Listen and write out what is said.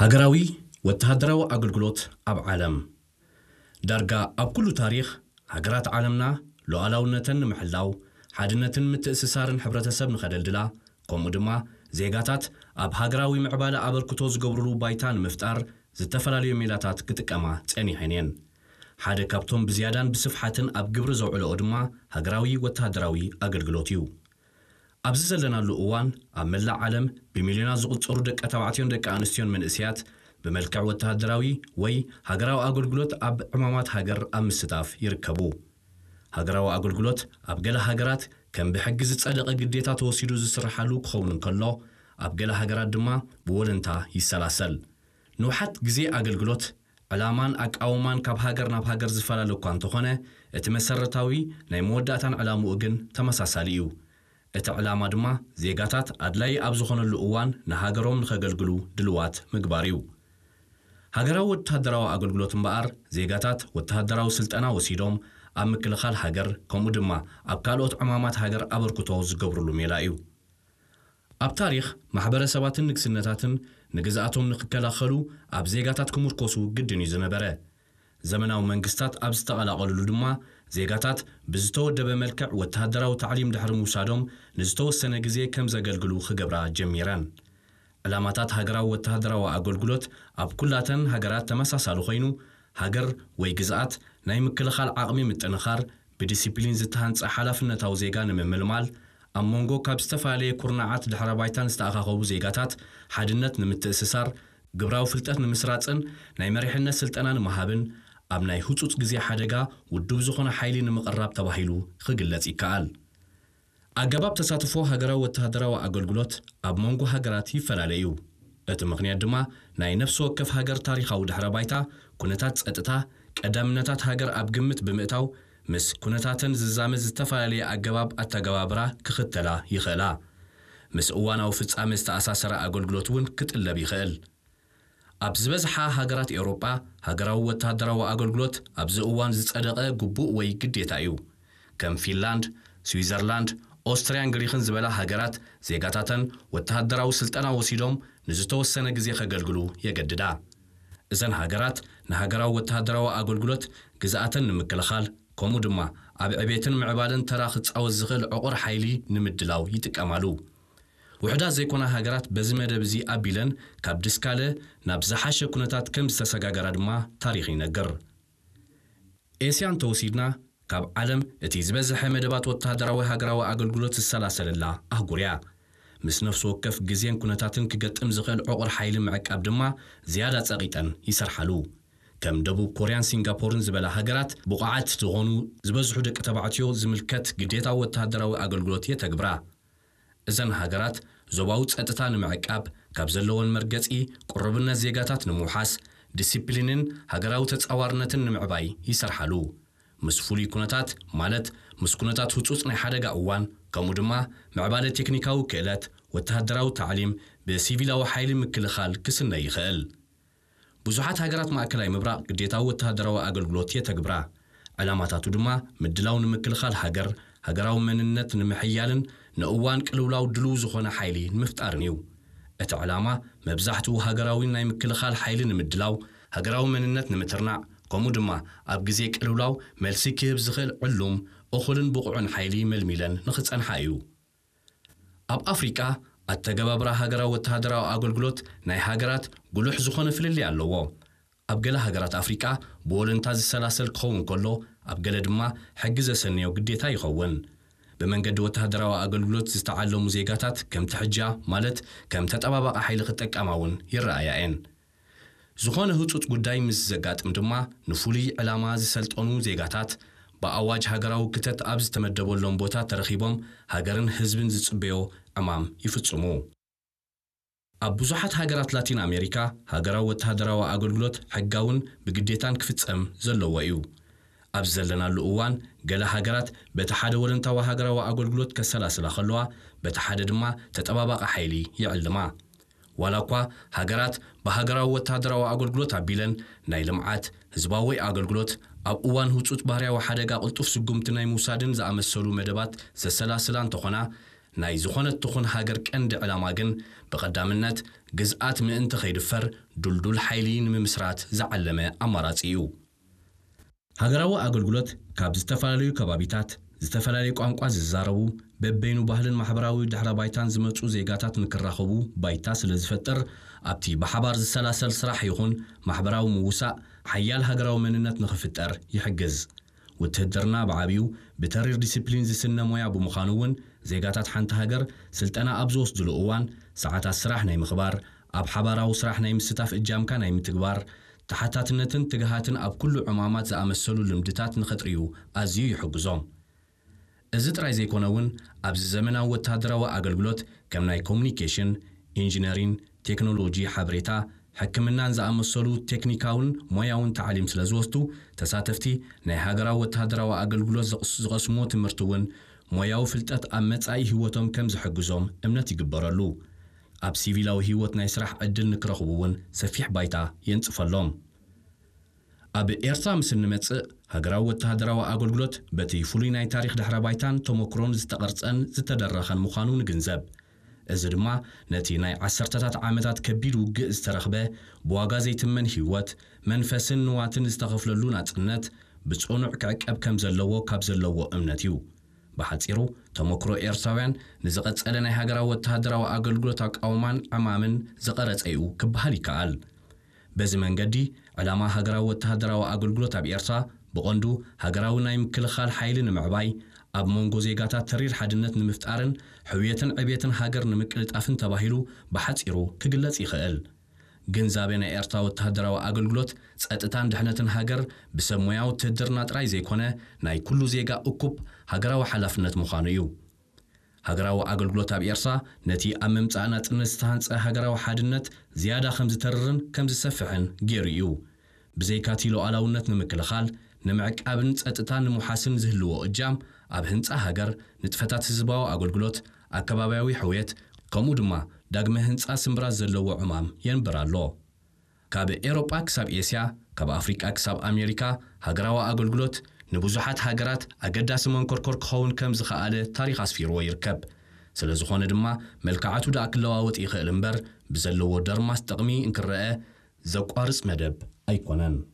ሃገራዊ ወተሃደራዊ ኣገልግሎት ኣብ ዓለም። ዳርጋ ኣብ ኩሉ ታሪኽ፣ ሃገራት ዓለምና ሉዓላውነተን ንምሕላው፣ ሓድነትን ምትእስሳርን ሕብረተሰብ ንኸደልድላ፣ ከምኡ ድማ ዜጋታት ኣብ ሃገራዊ ምዕባለ ኣበርክቶ ዝገብሩሉ ባይታ ንምፍጣር፣ ዝተፈላለዩ ሜላታት ክጥቀማ ጸኒሐን እየን። ሓደ ካብቶም ብዝያዳን ብስፍሓትን ኣብ ግብሪ ዘውዕልኦ ድማ ሃገራዊ ወተሃደራዊ ኣገልግሎት እዩ። ኣብዚ ዘለናሉ እዋን፣ ኣብ መላእ ዓለም ብሚልዮናት ዝቑጸሩ ደቂ ተባዕትዮን ደቂ ኣንስትዮን መንእሰያት ብመልክዕ ወተሃደራዊ ወይ ሃገራዊ ኣገልግሎት ኣብ ዕማማት ሃገር ኣብ ምስታፍ ይርከቡ። ሃገራዊ ኣገልግሎት ኣብ ገለ ሃገራት ከም ብሕጊ ዝጸደቐ ግዴታ ተወሲዱ ዝስርሓሉ ክኸውን እንከሎ፣ ኣብ ገለ ሃገራት ድማ ብወለንታ ይሰላሰል። ንውሓት ግዜ ኣገልግሎት፣ ዕላማን ኣቃውማን ካብ ሃገር ናብ ሃገር ዝፈላለ እኳ እንተኾነ፣ እቲ መሰረታዊ ናይ መወዳእታን ዕላምኡ ግን ተመሳሳሊ እዩ። እቲ ዕላማ ድማ ዜጋታት ኣድላዪ ኣብ ዝኾነሉ እዋን ንሃገሮም ንኸገልግሉ ድልዋት ምግባር እዩ። ሃገራዊ ወተሃደራዊ ኣገልግሎት እምበኣር፣ ዜጋታት ወተሃደራዊ ስልጠና ወሲዶም ኣብ ምክልኻል ሃገር፣ ከምኡ ድማ ኣብ ካልኦት ዕማማት ሃገር ኣበርክቶ ዝገብርሉ ሜላ እዩ። ኣብ ታሪኽ፣ ማሕበረሰባትን ንግስነታትን ንግዝኣቶም ንክከላኸሉ ኣብ ዜጋታት ክምርኮሱ ግድን እዩ ዝነበረ። ዘመናዊ መንግስታት ኣብ ዝተቐላቐሉሉ ድማ፣ ዜጋታት ብዝተወደበ መልክዕ ወተሃደራዊ ታዕሊም ድሕሪ ምውሳዶም ንዝተወሰነ ግዜ ከም ዘገልግሉ ክገብራ ጀሚረን። ዕላማታት ሃገራዊ ወተሃደራዊ ኣገልግሎት ኣብ ኩላተን ሃገራት ተመሳሳሊ ኮይኑ፣ ሃገር ወይ ግዝኣት ናይ ምክልኻል ዓቕሚ ምጥንኻር፣ ብዲሲፕሊን ዝተሃንጸ ሓላፍነታዊ ዜጋ ንምምልማል፣ ኣብ መንጎ ካብ ዝተፈላለየ ኩርናዓት ድሕረ ባይታን ዝተኣኻኸቡ ዜጋታት ሓድነት ንምትእስሳር፣ ግብራዊ ፍልጠት ንምስራጽን ናይ መሪሕነት ስልጠና ንምሃብን፣ ኣብ ናይ ህጹጽ ግዜ ሓደጋ ውዱብ ዝኾነ ሓይሊ ንምቕራብ ተባሂሉ ክግለጽ ይከኣል። ኣገባብ ተሳትፎ ሃገራዊ ወተሃደራዊ ኣገልግሎት ኣብ መንጎ ሃገራት ይፈላለ እዩ። እቲ ምኽንያት ድማ ናይ ነፍሲ ወከፍ ሃገር ታሪኻዊ ድሕረ ባይታ፣ ኩነታት ጸጥታ፣ ቀዳምነታት ሃገር ኣብ ግምት ብምእታው፣ ምስ ኩነታተን ዝዛመድ ዝተፈላለየ ኣገባብ ኣተገባብራ ክኽተላ ይኽእላ። ምስ እዋናዊ ፍጻመ ዝተኣሳሰረ ኣገልግሎት እውን ክጥለብ ይኽእል። ኣብ ዝበዝሓ ሃገራት ኤውሮጳ፣ ሃገራዊ ወተሃደራዊ ኣገልግሎት ኣብዚ እዋን ዝጸደቐ ግቡእ ወይ ግዴታ እዩ። ከም ፊንላንድ፣ ስዊዘርላንድ፣ ኦስትርያን ግሪኽን ዝበላ ሃገራት፣ ዜጋታተን ወተሃደራዊ ስልጠና ወሲዶም ንዝተወሰነ ግዜ ከገልግሉ የገድዳ። እዘን ሃገራት ንሃገራዊ ወተሃደራዊ ኣገልግሎት፣ ግዝኣተን ንምክልኻል፣ ከምኡ ድማ ኣብ ዕቤትን ምዕባለን ተራ ክጻወት ዝኽእል ዕቑር ሓይሊ ንምድላው ይጥቀማሉ። ውሑዳት ዘይኮና ሃገራት በዚ መደብ እዚ ኣቢለን ካብ ድስካለ ናብ ዝሓሸ ኩነታት ከም ዝተሰጋገራ ድማ ታሪኽ ይነግር። ኤስያ እንተወሲድና፣ ካብ ዓለም እቲ ዝበዝሐ መደባት ወተሃደራዊ ሃገራዊ ኣገልግሎት ዝሰላሰለላ ኣህጉር እያ። ምስ ነፍሲ ወከፍ ግዜን ኩነታትን ክገጥም ዝኽእል ዕቑር ሓይሊ ምዕቃብ ድማ ዝያዳ ጸቒጠን ይሰርሓሉ። ከም ደቡብ ኮርያን ሲንጋፖርን ዝበላ ሃገራት፣ ብቑዓት ዝኾኑ ዝበዝሑ ደቂ ተባዕትዮ ዝምልከት ግዴታዊ ወተሃደራዊ ኣገልግሎት የተግብራ። እዘን ሃገራት ዞባዊ ጸጥታ ንምዕቃብ፣ ካብ ዘለወን መርገጺ ቅሩብነት ዜጋታት ንምውሓስ፣ ዲሲፕሊንን ሃገራዊ ተጻዋርነትን ንምዕባይ ይሰርሓሉ። ምስ ፍሉይ ኩነታት፣ ማለት ምስ ኩነታት ህጹጽ ናይ ሓደጋ እዋን፣ ከምኡ ድማ ምዕባለ ቴክኒካዊ ክእለት፣ ወተሃደራዊ ታዕሊም፣ ብሲቪላዊ ሓይሊ ምክልኻል ክስነ ይኽእል። ብዙሓት ሃገራት ማእከላይ ምብራቕ ግዴታዊ ወተሃደራዊ ኣገልግሎት የተግብራ። ዕላማታቱ ድማ ምድላው ንምክልኻል ሃገር፣ ሃገራዊ መንነት ንምሕያልን ንእዋን ቅልውላው ድሉው ዝኾነ ሓይሊ ንምፍጣርን እዩ። እቲ ዕላማ መብዛሕትኡ ሃገራዊ ናይ ምክልኻል ሓይሊ ንምድላው፣ ሃገራዊ መንነት ንምትርናዕ፣ ከምኡ ድማ ኣብ ግዜ ቅልውላው መልሲ ክህብ ዝኽእል ዕሉም፣ እኹልን ብቑዕን ሓይሊ መልሚለን ንኽጸንሓ እዩ። ኣብ ኣፍሪቃ፣ ኣተገባብራ ሃገራዊ ወተሃደራዊ ኣገልግሎት ናይ ሃገራት ጉሉሕ ዝኾነ ፍልልይ ኣለዎ። ኣብ ገለ ሃገራት ኣፍሪቃ ብወለንታ ዝሰላሰል ክኸውን ከሎ፣ ኣብ ገለ ድማ ሕጊ ዘሰንዮ ግዴታ ይኸውን። ብመንገዲ ወተሃደራዊ ኣገልግሎት ዝተዓለሙ ዜጋታት ከምቲ ሕጃ፣ ማለት ከም ተጠባባቒ ሓይሊ ክጠቀማ እውን ይረኣያ እየን። ዝኾነ ህጹጽ ጉዳይ ምስ ዘጋጥም ድማ፣ ንፍሉይ ዕላማ ዝሰልጠኑ ዜጋታት ብኣዋጅ ሃገራዊ ክተት ኣብ ዝተመደበሎም ቦታ ተረኺቦም ሃገርን ህዝብን ዝጽበዮ ዕማም ይፍጽሙ። ኣብ ብዙሓት ሃገራት ላቲን ኣሜሪካ፣ ሃገራዊ ወተሃደራዊ ኣገልግሎት ሕጋውን ብግዴታን ክፍጸም ዘለዎ እዩ። ኣብ ዘለናሉ እዋን፣ ገለ ሃገራት በቲ ሓደ ወለንታዊ ሃገራዊ ኣገልግሎት ከሰላስላ ከለዋ፣ በቲ ሓደ ድማ ተጠባባቒ ሓይሊ ይዕልማ። ዋላ እኳ ሃገራት ብሃገራዊ ወተሃደራዊ ኣገልግሎት ኣቢለን ናይ ልምዓት፣ ህዝባዊ ኣገልግሎት፣ ኣብ እዋን ህጹጽ ባህርያዊ ሓደጋ ቅልጡፍ ስጉምቲ ናይ ምውሳድን ዝኣመሰሉ መደባት ዘሰላስላ እንተኾና፣ ናይ ዝኾነት ትኹን ሃገር ቀንዲ ዕላማ ግን ብቐዳምነት ግዝኣት ምእንቲ ከይድፈር ድልዱል ሓይሊ ንምምስራት ዝዓለመ ኣማራጺ እዩ። ሃገራዊ ኣገልግሎት ካብ ዝተፈላለዩ ከባቢታት፣ ዝተፈላለዩ ቋንቋ ዝዛረቡ፣ በበይኑ ባህልን ማሕበራዊ ድሕረ ባይታን ዝመጹ ዜጋታት ንክራኸቡ ባይታ ስለ ዝፈጥር፣ ኣብቲ ብሓባር ዝሰላሰል ስራሕ ይኹን ማሕበራዊ ምውሳእ ሓያል ሃገራዊ መንነት ንኽፍጠር ይሕግዝ። ውትህድርና ብዓቢኡ ብተሪር ዲሲፕሊን ዝስነ ሞያ ብምዃኑ እውን፣ ዜጋታት ሓንቲ ሃገር ስልጠና ኣብ ዝወስድሉ እዋን፣ ሰዓታት ስራሕ ናይ ምኽባር፣ ኣብ ሓባራዊ ስራሕ ናይ ምስታፍ እጃምካ ናይ ምትግባር፣ ተሓታትነትን ትግሃትን ኣብ ኩሉ ዕማማት ዝኣመሰሉ ልምድታት ንኸጥርዩ ኣዝዩ ይሕግዞም። እዚ ጥራይ ዘይኮነ እውን፣ ኣብዚ ዘመናዊ ወተሃደራዊ ኣገልግሎት ከም ናይ ኮሙኒኬሽን፣ ኢንጂነሪን፣ ቴክኖሎጂ ሓበሬታ፣ ሕክምናን ዝኣመሰሉ ቴክኒካውን ሞያውን ታዕሊም ስለ ዝወስዱ፣ ተሳተፍቲ ናይ ሃገራዊ ወተሃደራዊ ኣገልግሎት ዝቕስ-፣ ዝቐስምዎ ትምህርቲ እውን ሞያዊ ፍልጠት ኣብ መጻኢ ህይወቶም ከም ዝሕግዞም እምነት ይግበረሉ። ኣብ ሲቪላዊ ህይወት ናይ ስራሕ ዕድል ንክረኽቡ እውን ሰፊሕ ባይታ የንጽፈሎም። ኣብ ኤርትራ ምስ እንመጽእ፣ ሃገራዊ ወተሃደራዊ ኣገልግሎት በቲ ፍሉይ ናይ ታሪኽ ድሕረ ባይታን ተመክሮን ዝተቐርጸን ዝተደረኸን ምዃኑ ንግንዘብ። እዚ ድማ ነቲ ናይ ዓሰርተታት ዓመታት ከቢድ ውግእ ዝተረኽበ፣ ብዋጋ ዘይትመን ህይወት፣ መንፈስን ንዋትን ዝተኸፍለሉ ናጽነት ብጽኑዕ ክዕቀብ ከም ዘለዎ ካብ ዘለዎ እምነት እዩ። ብሓጺሩ፣ ተመክሮ ኤርትራውያን ንዝቐጸለ ናይ ሃገራዊ ወተሃደራዊ ኣገልግሎት ኣቃውማን ዕማምን ዝቐረጸ እዩ ክበሃል ይከኣል። በዚ መንገዲ፣ ዕላማ ሃገራዊ ወተሃደራዊ ኣገልግሎት ኣብ ኤርትራ ብቐንዱ ሃገራዊ ናይ ምክልኻል ሓይሊ ንምዕባይ፣ ኣብ መንጎ ዜጋታት ተሪር ሓድነት ንምፍጣርን ሕውየትን ዕብየትን ሃገር ንምቅልጣፍን ተባሂሉ ብሓጺሩ ክግለጽ ይኽእል። ግንዛቤ ናይ ኤርትራ ወተሃደራዊ ኣገልግሎት ጸጥታን ድሕነትን ሃገር ብሰብ ሞያ ውትህድርና ጥራይ ዘይኮነ፣ ናይ ኩሉ ዜጋ እኩብ ሃገራዊ ሓላፍነት ምዃኑ እዩ። ሃገራዊ ኣገልግሎት ኣብ ኤርትራ ነቲ ኣብ ምምጻእ ናጽነት ዝተሃንጸ ሃገራዊ ሓድነት ዝያዳ ከም ዝተርርን ከም ዝሰፍሕን ገይሩ እዩ። ብዘይካቲ ሉዓላውነት ንምክልኻል፣ ንምዕቃብን ጸጥታ ንምውሓስን ዝህልዎ እጃም፣ ኣብ ህንጻ ሃገር፣ ንጥፈታት ህዝባዊ ኣገልግሎት፣ ኣከባብያዊ ሕውየት፣ ከምኡ ድማ ዳግመ ህንጻ ስምብራት ዘለዎ ዕማም የንብር ኣሎ። ካብ ኤውሮጳ ክሳብ ኤስያ፣ ካብ ኣፍሪቃ ክሳብ ኣሜሪካ፣ ሃገራዊ ኣገልግሎት ንብዙሓት ሃገራት ኣገዳሲ መንኮርኮር ክኸውን ከም ዝኸኣለ ታሪኽ ኣስፊርዎ ይርከብ። ስለ ዝኾነ ድማ፣ መልክዓቱ ደኣ ክለዋወጥ ይኽእል እምበር፣ ብዘለዎ ደርማስ ጥቕሚ እንክረአ ዘቋርጽ መደብ ኣይኮነን።